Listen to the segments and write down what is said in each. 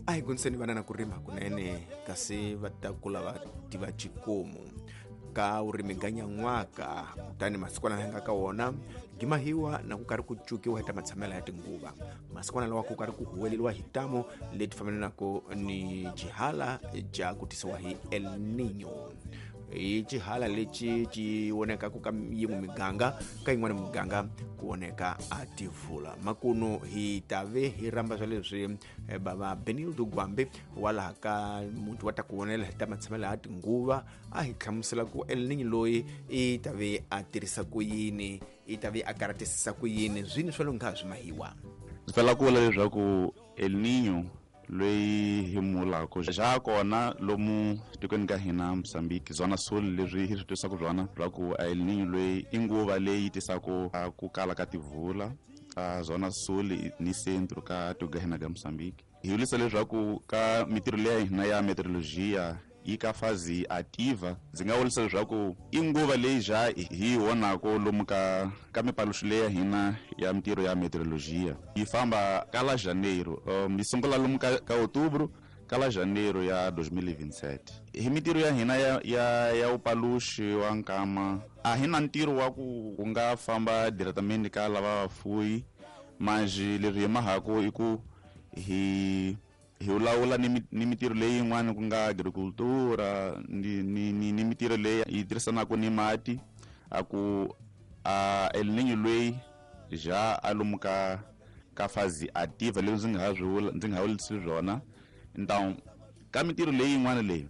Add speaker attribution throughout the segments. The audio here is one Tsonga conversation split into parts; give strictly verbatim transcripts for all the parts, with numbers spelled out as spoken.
Speaker 1: A hi guniseni vana na ku rima kunene kasi va ta kula va tiva xikomu ka vurimi ga nyan'waka kutani masikwana laha nga ka wona gimahiwa na ku karhi ku cukiwa hi ta matshamela ya tinguva masikwana lawa ku karhi ku huweleliwa hi tamo leti fambelanaka ni xihala ja ku tisiwa hi El Niño. Hi xihala lexi xi vonekaku ka yin'we miganga ka yin'wana miganga ku voneka a tivula makuno hi tave hi rhamba swa leswi bava Benildo Gwambe wa laha ka muti wa ta ku vonela hi ta matshamela ya tinguva a hi hlamusela ku El Niño loyi i tave a tirhisa ku yini i tave a karatisisa ku yini swini swa longha swi mahiwa.
Speaker 2: Ndzi pfela ku vula leswaku El Niño loyi hi mulako xa kona lomu tikweni ka hina Mozambique zona sul leswi hi swi twisaka byona bya ku El Niño loyi i nguva leyi tisaka ku kala ka tivula ka zona sul ni centro ka tiko ka hina ka Mozambique. Hi vulisa leswaku ka mitirho leya hina ya meteorologia yi ka fazi ativa ndzi nga vurisa leswaku i nguva leyi ja hi vonako lomu ka ka mipaluxo leyi ya hina ya mitirho ya meteorologia yi famba ka la janeiro um yi sungula lomu ka, ka outubro ka la janeiro ya dois mil e vinte e sete. Hi mitirho ya hina ya ya ya upaluxi wa nkama a hi na ntirho wa ku ku nga famba diretamente ka lava vafuyi mas leswi hi mahako i ku hi hi lawula ni ni mitirho leyi yin'wana ku nga agricultura ni ni ni, ni mitirho leyi yi tirhisanaka ni mati a ku a El Niño loyi ja a lomu ka ka fazi ativa leswi ndzi nga ha swi vula ndzi nga ha vulisi swona. Então ka mitirho leyi yin'wana leyi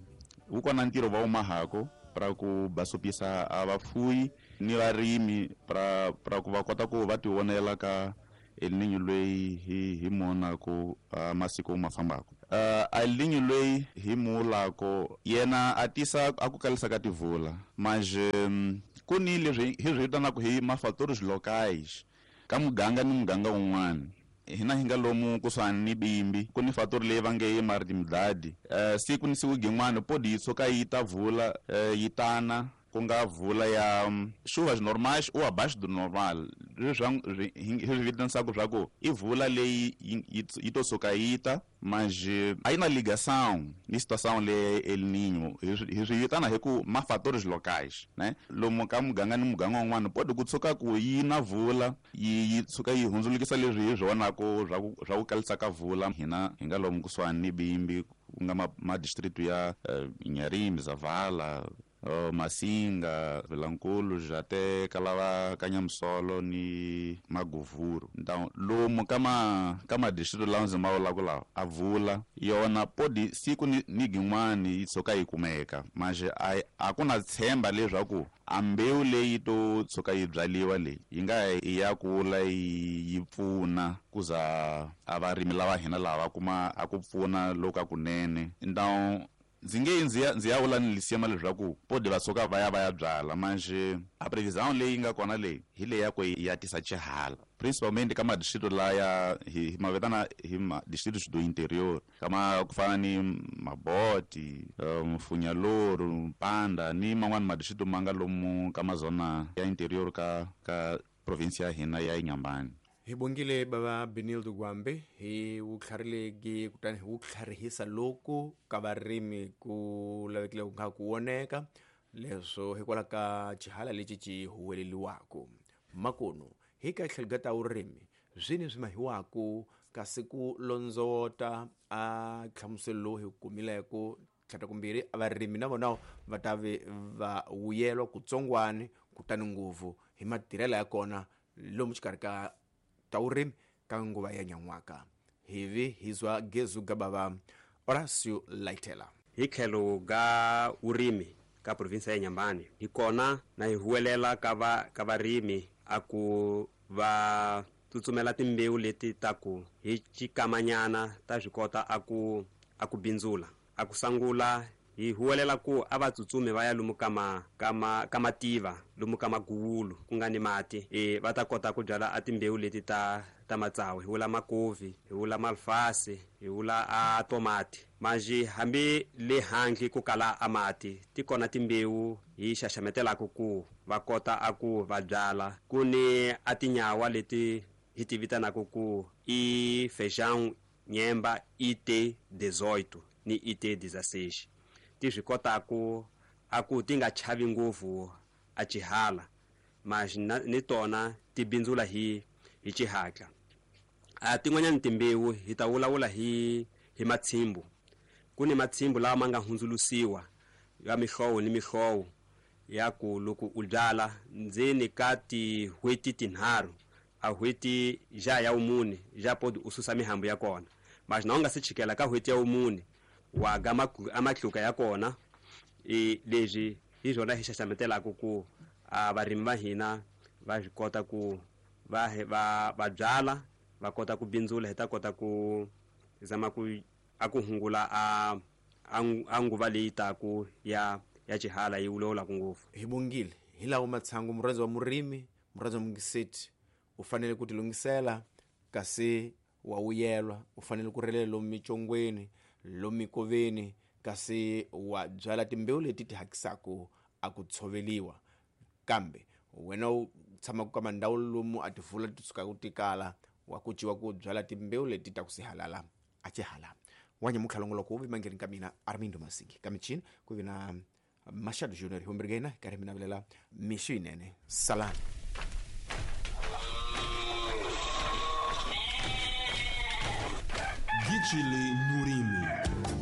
Speaker 2: wu kona ntirho va wu mahako pra ku basopisa a vafuyi ni varimi pra pra ku va kota ku va tivonela ka El Niño loyi hi hi monako uh, masiku ma fambako. Uh, El Niño loyi hi mulako yena a tisa a ku kalisa ka tivula mas um, ku ni leswi hi swi vitanaka hi mafatores locais ka muganga ni muganga wun'wana hina hi nga lomu kusuhani ni Bimbi ku ni fatori leyi va nge yi Maritimdadi uh, siku ni siku gin'wana podi yi tshuka yi ta vula uh, yi tana ku nga vula ya um, chuvas normais ou abaixo do normal leswi hi swi vitanisaka swa ku i vula leyi yi to suka yi ta mas a yi na ligação ni situação leyi El Niño hi swi vitana hi ku ma fatores locais né lomu ka muganga ni muganga wun'wana podi ku tshuka ku yi na vula yi yi tshuka yi hundzulukisa leswi hi swi vonako swa ku swa ku kalisa ka vula hina hi nga lomu kusuhani ni Bimbi ku nga ma, ma distrito ya uh, Inharime, Zavala, Uh, Masinga, Vilankulu, Jate, Kalava, Kanyamusolo ni Maguvuru. Então, lomu kama kama distrito lawa ndzi ma vulaka lawa a vula yona podi siku ni, ni gin'wani yi tshuka yi kumeka mas a, a ku na tshemba leswaku a mbewu leyi to tshuka yi byaliwa leyi yi nga yi ya kula yi, yi pfuna ku za a varimi lava hina lava va kuma a ku pfuna loku a kunene. Então ndzi nge ndzi ya ndzi ya vula ni lisiema leswaku podi va tshuka va ya va ya byala mas a previsão leyi nga kona leyi hi leyi ya ku ya tisa xihala principalmente ka madistrito laya hi ma vitana hi ma distritos do interior kama ku fana ni Maboti, um, Funyaloro, Mpanda ni man'wana madistrito ma nga lomu ka mazona ya interior ka ka provinsia ya hina ya Inhambane.
Speaker 1: Hi bongile bava Benildo Gwambe hi wutlharileki kutani hi wutlharihisa loku ka varimi ku lavekile ku nga ku voneka leswo hikwalaho ka xihala lexi xi huweleliwaka makuno hi ka tlhelo ka ta vurimi swini swi mahiwaku kasi ku londzota a nhlamuselo lowu hi kumileko tlhata kumbirhi varimi na vona va ta ve va vuyelwa kutsongwani kutani ngopfu hi matirhelo ya kona lomu xikarhi ka ta vurimi ka nguva ya nyan'waka hivi hizwa gezu gabava Horacio Laitela.
Speaker 3: Hi tlhelo ga vurimi ka provinsia ya Inhambane hi kona na hi huwelela ka va ka varimi a ku va tsutsumela timbewu leti ta ku hi xikamanyana ta swi kota a ku a ku bindzula a ku sangula hi huwelela ku a va tsutsumi va ya lomu ka ma ka ma ka mativa lomu ka maguwulu ku nga ni mati e va ta kota ku byala a timbewu leti ta ta matsawu hi vula makovi hi vula malfasi hi vula a tomati manji hambi le handle ku kala a mati ti kona timbewu hi xaxametelaka ku va kota a ku va byala ku ni a tinyawa leti hi ti vitanaka ku i feijão nyemba I T dezoito ni I T dezesseis ti swi kota ku a ku ti nga chavi ngopfu a xihala mas ni tona ti bindzula hi hi xihatla. A tin'wanyana timbewu hi ta vulavula hi hi matshimbu. Ku ni matshimbu lawa ma nga hundzulusiwa ya mihlovo ni mihlovo ya ku loko u byala ndzeni ka tin'hweti tinharhu a n'hweti ja ya wumune ja podi u susa mihambu ya kona, mas na u nga se chikela ka n'hweti ya wumune wa ga amatluka ya kona. E leswi hi swona hi xaxametelaka ku a varimi va hina va swi kota ku va va va byala va kota ku bindzula, hi ta kota ku zama ku a ku hungula a a nguva leyi taku ya ya xihala yi wulawulaka ngopfu.
Speaker 1: Hi bongile hi lawo matshangu murhandzi wa murimi murhandzi wa mungiseti u fanele ku tilunghisela kasi wa wuyelwa u fanele ku relela lomu micongweni lomu mikoveni kasi wa byala timbewu leti ti hakisaku a ku tshoveliwa. Kambe wena u tshamaka ka mandhawu lomu a tivula ti sukaka ti kala wa ku ciwa ku byala timbewu leti ta ku sihalala a xihala. Wanya mukhalongoloko wu vimangeni ka mina Armindo Masingi ka michini ku vi na Machado Junior hi karhi mi navelela mixo yinene. Salani.
Speaker 4: Gijile Murimi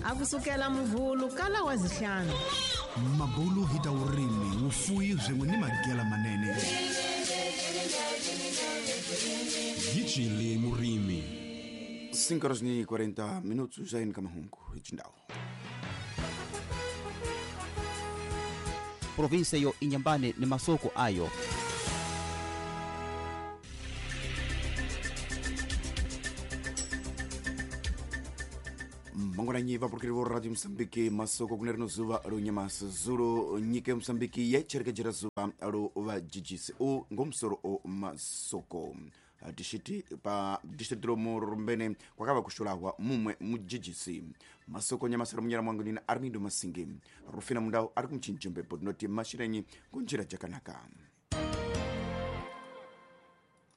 Speaker 5: akusukela muvhulu kala wa zihlanu
Speaker 4: mabulu hi ta urimi wufuyi swin'we ni magela manene. Gijile Murimi.
Speaker 6: cinco horas e quarenta minutos já em Camahungo, Chindao.
Speaker 7: Província yo Inhambane ni masoko ayo.
Speaker 6: Mangwananyi vapurukiri vo Radio Mozambique masoko kuneri no zuva ro nyamasa zuro nyika ya Mozambique yacherekejera zuva ro vajijisi o ngomusoro o masoko tishiti pa distrito ro Murumbene kwakava kushulahwa mumwe mujijisi masoko nyamasa munyara mwangu nina Armindo Masingi Rufina Mundau ari kumchinjembepo tinoti mashirenyi kunjira jakanaka.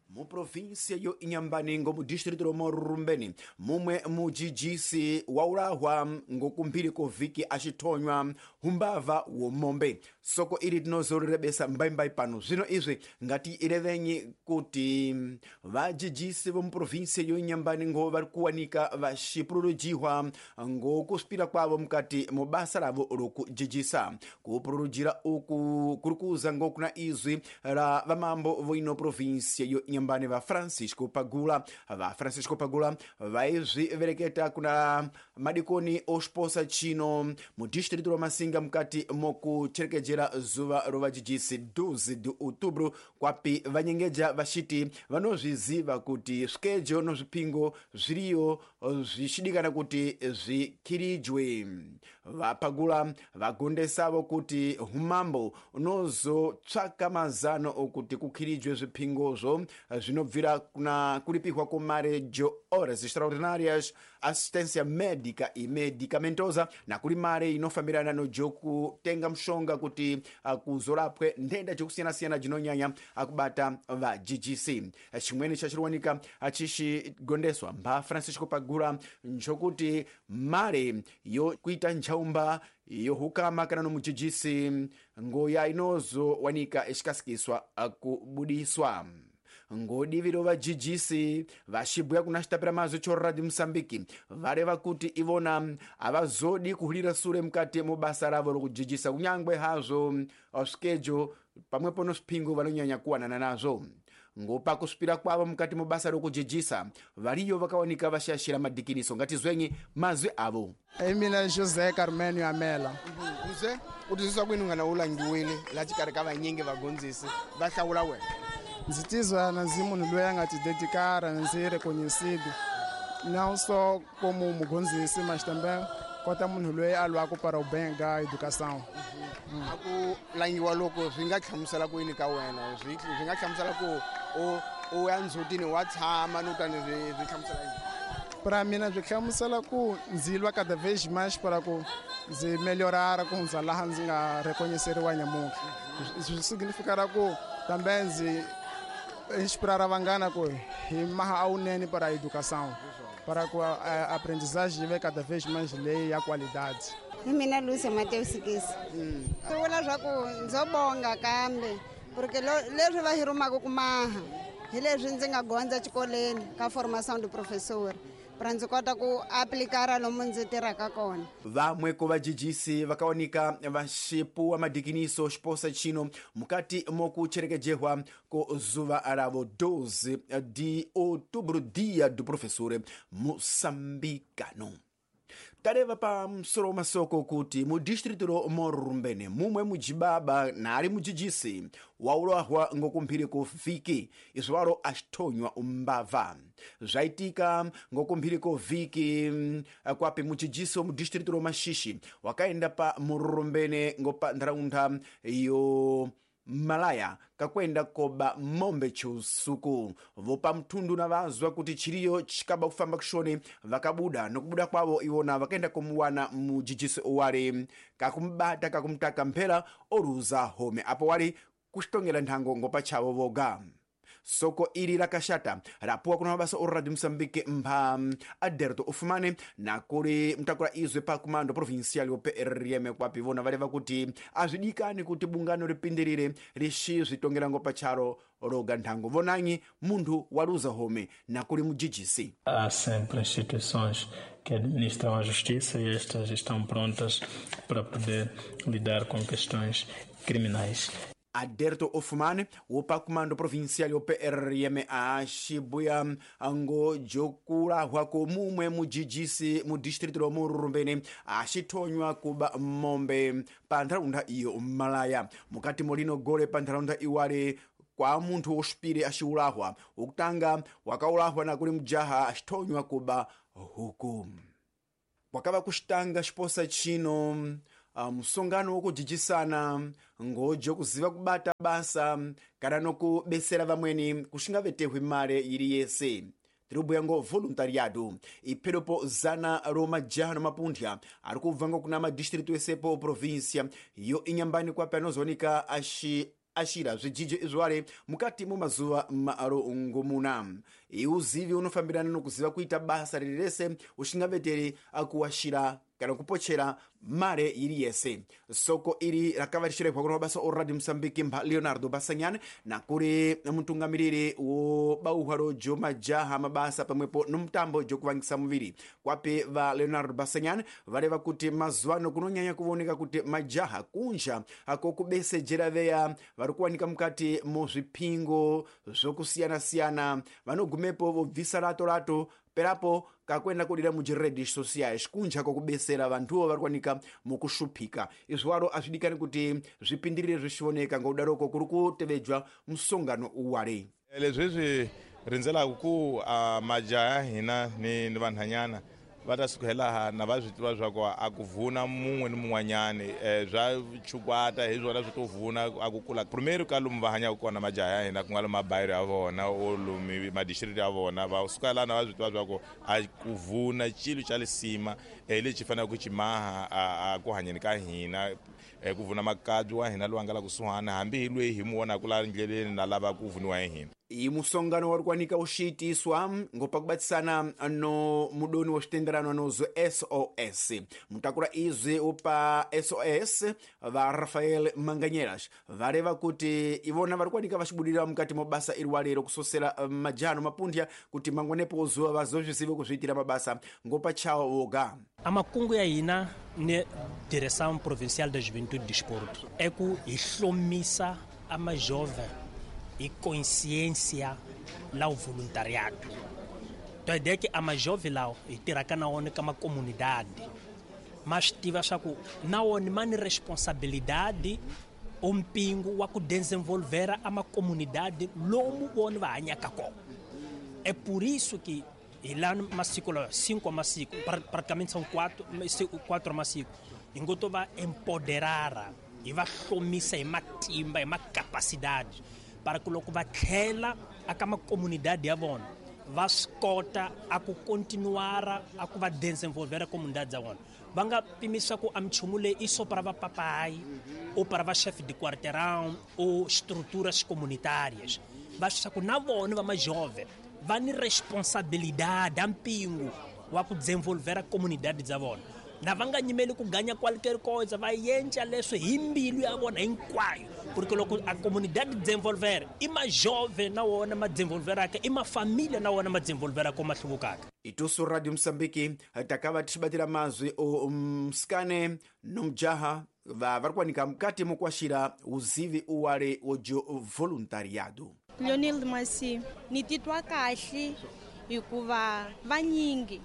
Speaker 6: Muprovinsia yo Inhambane ngo mudistrito ro Murumbene mumwe mujijisi waulahwa ngokumphiri kovhiki axithonywa humbava womombe. Soko ili tinozorerebesa mbaimbai pano zvino izvi ngati irevenyi kuti vajijisi vomuprovinsia yo Inhambane ngo vari kuwanika vaxipururujihwa ngokusvipira kwavo mukati mubasa ravo rokujijisa. Kupururujira uku kuri kuza ngokuna izwi ra vamambo voino provinsia yo Inhambane va Francisco Pagula. Va Francisco Pagula vaizvivereketa kuna madikoni osposa chino mudistrito ro Masinga mukati mokucherekejera zuva ro vajijisi doze de outubro kwapi vanyengeja vachiti vanozviziva kuti svikejo no zvipingo zviriyo zvichidikana kuti zvikhirijwe. Vapagula vagondesavo kuti humambo unozotsvaka mazano okuti kukhirijwe zvipingozvo zvinobvira kuna kulipihwa komare jo horas extraordinárias, assistência médica e medicamentosa na kuli mare inofambirana no jokutenga mushonga kuti kuzorapwe ndenda jokusiyana-siyana jinonyanya akubata va G G C. Chimweni chachiriwanika achishigondeswa mba Francisco Pagula nchokuti mare yokuita nchaumba yohukama kana no mujijisi ngoya inozowanika ichikasikiswa kubudiswa. Ngodivi rova G G C vachibhuya kuna chitapira mazwi cho Radio Mozambique vareva kuti ivona havazodi kuhulira sure mukati mubasa ravo rokujijisa kunyangwe hazvo svikejo pamwepo no zvipingo vanonyanya kuwanana nazvo. Ngopa kusvipira kwavo mukati mubasa rokujijisa variyo vakawanika vashashira madhikiniso. Ngatizwenyi mazwi avo.
Speaker 8: Mina José Carmenio Amela.
Speaker 9: José, u twisisa kwini ngana u langiwile la xikarhi ka vanyingi vagondzisi va hlawula wena?
Speaker 8: Ndzi tizwa na ndzi munhu loyi a nga tidedikara ndzi reconhecido não só como mugondzisi mas também kota munhu loyi a lwaka para o bem da educação.
Speaker 9: A ku langiwa loko swi nga hlamusela ku yini ka wena? Swi swi nga hlamusela ku u u ya ndzhutini wa tshama no tani swi swi hlamusela yini?
Speaker 8: Para mina swi hlamusela ku ndzi lwa cada vez mais para ku ndzi melhorar ku hundza laha ndzi nga reconheceriwa nyamuntlha. Swi significará ku também ndzi inspirar vanghana ku hi maha awunene para a educação. para que a aprendizagem venha cada vez mais lei e a qualidade.
Speaker 10: Hi mina Lúcia Mateus Sikisi. Swi vula swa ku ndzo bonga kambe porque leswi va hi rhumaka ku maha hi leswi ndzi nga gondza xikolweni ka formação de professor para ndzi kota ku aplikara lomu ndzi tirhaka kona.
Speaker 6: Vamwe ko vajijisi vakaoneka vaxipuwa madikiniso xiposa chino mukati mokucherekejehwa ko zuva ravo doze de outubro, dia do professor moçambicano. Tareva pa msoro masoko kuti mu distrito ro Morrumbene mumwe mujibaba nali mujijisi waulahwa ngokumphiri ku viki izwalo axithonywa umbava zvaitika ngokumphiri ko viki kwapi mujijisi mu distrito ro Maxixe wakaenda pa Morrumbene ngopa ntharaunda yo Malaya kakwenda koba mombe chusuku vopa mthundu na vazwa kuti chiriyo chikaba kufamba kushoni vakabuda nokubuda kwavo iwona vakaenda kumuwana mujijisi owali kakumbata kakumtaka mphela oruza home apo wali kuxitongela nthango ngopa chavo voga. Soko ili lakashata rapuwa kuna mabasa o Radio Mozambique mpha Aderto Ufumane na kuli mtakula izwe pa kumando provincial yo P R M kwapi vona valeva kuti azvidikani kuti bungano lipindirire lixi zvitongera ngopa charo roga nthango vonanyi munthu waluza home na kuli mujijisi.
Speaker 11: Há sempre instituições que administram a justiça e estas estão prontas para poder lidar com questões criminais.
Speaker 6: Aderto Ofumane wopa kumando provincial yo P R M a xibuya ngo jokulahwa ko mumwe mujijisi mu distrito ro Morrumbene axithonywa kuba mombe pa ntharaunda iyo Malaya mukati molino gole pa ntharaunda iwale kwa munthu woxipire axiulahwa wokutanga wakaulahwa na kuli mujaha axithonywa kuba huku kwakava kuxitanga xiposa chino. Uh, musongano wokujijisana ngojo kuziva kubata basa kana nokubesera vamweni kuxingavetehwi mare yili yese tiribuya ngo voluntariado ipheropo zana ro majaha no mapunthya ari kubva ngokuna madistritu esepo província yo inyambani kwapi anozooneka axi axira zvijijo izwale mukati mo mazuva marongomuna. Iuzivi unofambirana nokuziva kuita basa riri rese uxingaveteri akuwaxira kana kupochera mare yiri yese. Soko iri rakavarishirehwa kuna mabasa o Radio Mozambique mpha Leonardo Basanyane na kuri mutungamiriri wo bauhwaro jo majaha mabasa pamwepo nomutambo jokuvangisa muviri kwapi va Leonardo Basanyane vareva kuti mazuva kunonyanya kuvoneka kuti majaha kunja ako kubesejera veya vari kuwanika mukati muzvipingo zvokusiyana-siyana vanogumepo vobvisa rato rato perapo kakwenda kudira mujiredes sociais kunja kokubesera vanthuvo vari kuwanika mukushuphika. Izwaro azvidikani kuti zvipindirire zvixioneka ngoudaroko kuri kutevedzwa musongano uwale
Speaker 12: leswi swi rindzelaka ku uh, majaha ya hina ni, ni vanhanyana va ta suka hi laha na va swi tiva swa ku a ku vuna mun'we ni mun'wanyani um swa chukwata hi swona swi to vuna a ku kula primeiro ka lomu va hanyaka kona majaha ya hina ku nga lomu mabayiro ya vona o lomu madistrito ya vona va suka laha na va swi tiva swa ku a ku vuna xilo xa lisima um lexi faneleke ku xi maha a ku hanyeni ka hina um ku vuna makabyi wa hina lowu nga la kusuhana hambi hi lweyi hi mu vonaka la ndleleni na lava ku vuniwa hi hina.
Speaker 6: Iyi musongano wari kuwanika uxiitiswa ngopakubatisana no mudoni wa xitenderano anozo S O S mutakula izwi upa S O S va Rafael Manganyelas vareva kuti ivona vari kuwanika vaxibudira mukati mo basa iri walero kusosera majaha no mapunthya kuti mangwanepo zuva vazozvizive kuzviitira mabasa ngopachawo voga.
Speaker 13: Amakungu ya hina ni Direção Provincial da Juventude e Desporto é ku hi hlomisa ama jovem e consciência lá o voluntariado. Então a ideia é que a mais jovem lá e terá na ONU como uma comunidade, mas tive a que na ONU mani responsabilidade um pingo wa ku desenvolver a uma comunidade lomo ONU vai anhacacó. É por isso que e lá no Massico, cinco Massico, praticamente são quatro, quatro Massico. Enquanto vai empoderar e vai hlomisa e matimba e uma capacidade para que logo vai tlhela a uma comunidade ya vona va swi kota a ku continuar a ku va desenvolver a comunidade ya vona. Va nga pimisa ku a minchumu leyi i só para vapapai ou para va chefe de quarteirão ou estruturas comunitárias. Va swi ku na vona va majove Va ni responsabilidade mpingo wa ku desenvolver a comunidade dza vona. Na va nga nyimeli ku ganya qualquer coisa, va yenca leswi hi mbilu ya vona hinkwayo. Porque loko a comunidade desenvolver, i ma jovem na wona ma desenvolveraka, i ma família na wona ma desenvolveraka ma hluvukaka.
Speaker 6: Itusu Radio Msambiki takava tichibatira mazwi o msikane nomjaha va vari kuwanika mukati mokuaxira uzivi uwale wojo voluntariado.
Speaker 14: Leonel Masi, ni titwa kahle hikuva vanyingi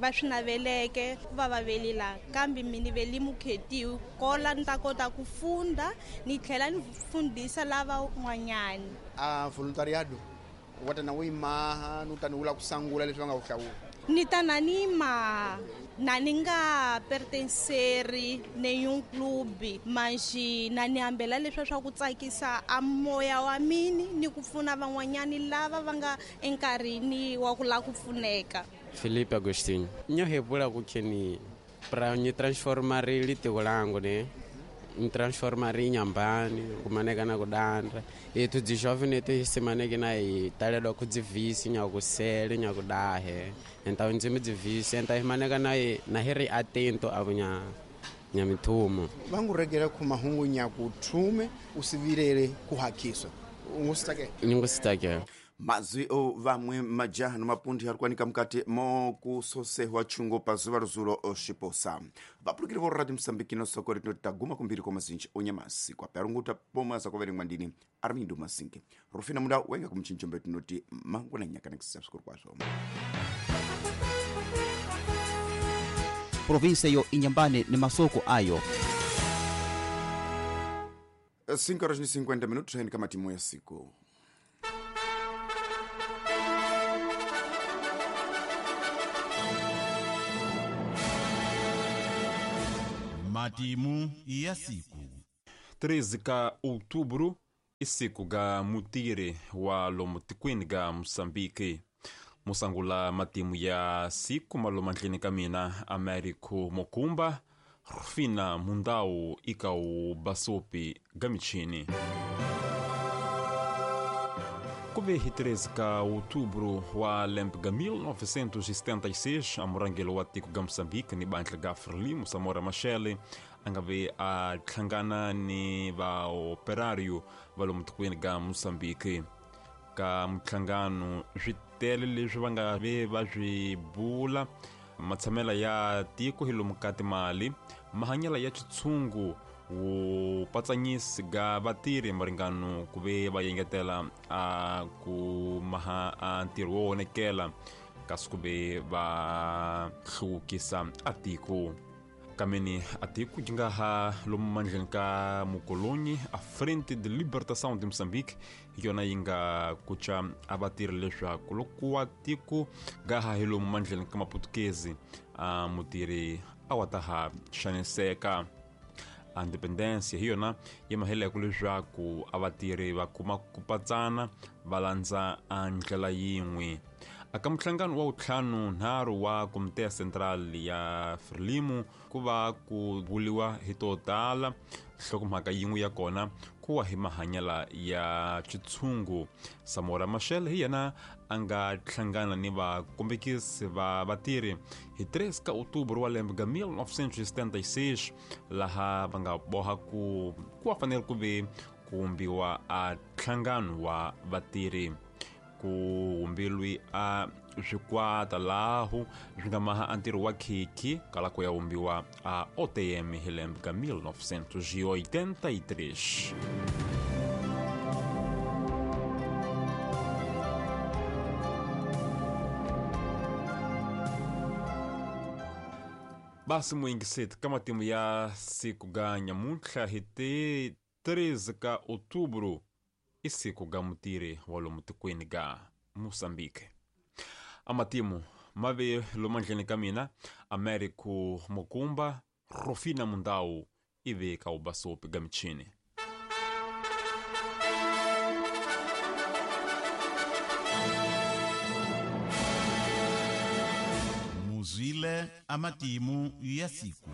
Speaker 14: va swi naveleke va va velila kambe mina veli mukhetiwi kola ni ta kota ku funda ni tlhela ni fundisa lava n'wanyani.
Speaker 9: A voluntariado wa tana wu maha ni tani wula ku sangula leswi va nga ku hlawula.
Speaker 14: Ni ta na ni maha na ni nga pertenceri nenhum clube, mas na ni hambela leswi swa ku tsakisa a moya wa mini ni ku pfuna van'wanyani lava va nga enkarhini wa ku lava ku pfuneka.
Speaker 15: Felipe Agostinho. Nyo hepula kukheni pra ni transformar litiko langu ne. Ni transformar nyambani kumaneka na kudandra. Ethu dzi jovem te simaneke na i talela ku dzivisi nya kusele nya kudahe. Então ndzimi dzivisi enta imaneka na na heri atento abunya nya mithumo.
Speaker 9: Vangu regera ku mahungu nya kuthume usivirele kuhakiswa. Ungusitake.
Speaker 15: Ngusitake.
Speaker 6: Mazwi o vamwe majaha no mapundi ari kuwanika mukati mokusosehwa chungo pazuva ruzulo oshiposa. Vapulukiri vo Radio Msambiki no soko rinoti taguma kumbiri kwa mazinji onyamasi kwa perunguta pomwe azakuverengwa ndini Armindo Masinke. Rufina muda wenga kumchinchombe tinoti mangwana nyaka nekisabskuru kwazvo.
Speaker 7: Província yo Inhambane ni masoko ayo.
Speaker 6: cinco horas e cinquenta minutos haini kama timu ya siku.
Speaker 16: Matimu ya siku.
Speaker 17: treze ka outubro isiku ga mutire wa lomotikwini ga Moçambique. Musangula matimu ya siku malomandlini kamina Américo Mokumba, Rufina Mundau ikau Basopi gamichini. Kuve hi treze ka outubro wa lembe ga mil novecentos e setenta e seis, a murangelo wa tiko ga Moçambique ni bandla ga Frelimo Samora Machel angave a hlangana ni va operário va lomutukwini ga Moçambique. Ka mhlangano switele leswi va nga ve va swi bula matshamela ya tiko hi lomu ka timali mahanyela ya xitshungu wu patsanyisi ga vatirhi maringano ku ve va yengetela a ku maha a ntirho wo onekela kasi ku ve va hluvukisa a tiko. Kameni a tiko yi nga ha lomu mandleni ka mukolonyi a Frente de Libertação de Moçambique yona yi nga kucha a vatirhi leswaku loko wa tiko ga ha hi lomu mandleni ka maputukezi a mutirhi a wa ta ha xaniseka. A independência hi yona yi maheleko leswaku a vatirhi va kuma ku patsana va landza a ndlela yin'we. Aka mhlangano wa ntlhanu nharhu wa Komite Central ya Frelimo ku va ku buliwa hi to tala nhlokomhaka yin'we ya kona ku wa hi mahanyela ya xitshungu. Samora Machel hi yena a nga hlangana ni vakombekisi va vatirhi hi treze ka outubro wa lembe ga mil novecentos e setenta e seis laha va nga boha ku ku va fanele ku ve ku vumbiwa a nhlangano wa vatirhi. Ku humbilwi a swikwata lahu swi nga maha a ntirho wa khikhi kala ku ya vumbiwa a O T M hi lembe ka mil novecentos e oitenta e três. Basi muingiseti ka matimu ya siku ga nyamuntlha hi ti treze ka outubro isiku ga mutiri wa lomu tikweni ga Moçambique. A matimu mave lomandleni ka mina Américo Mokumba, Rufina Mundau ive ka ubasopi ga michini.
Speaker 16: Muzile amatimu ya siku.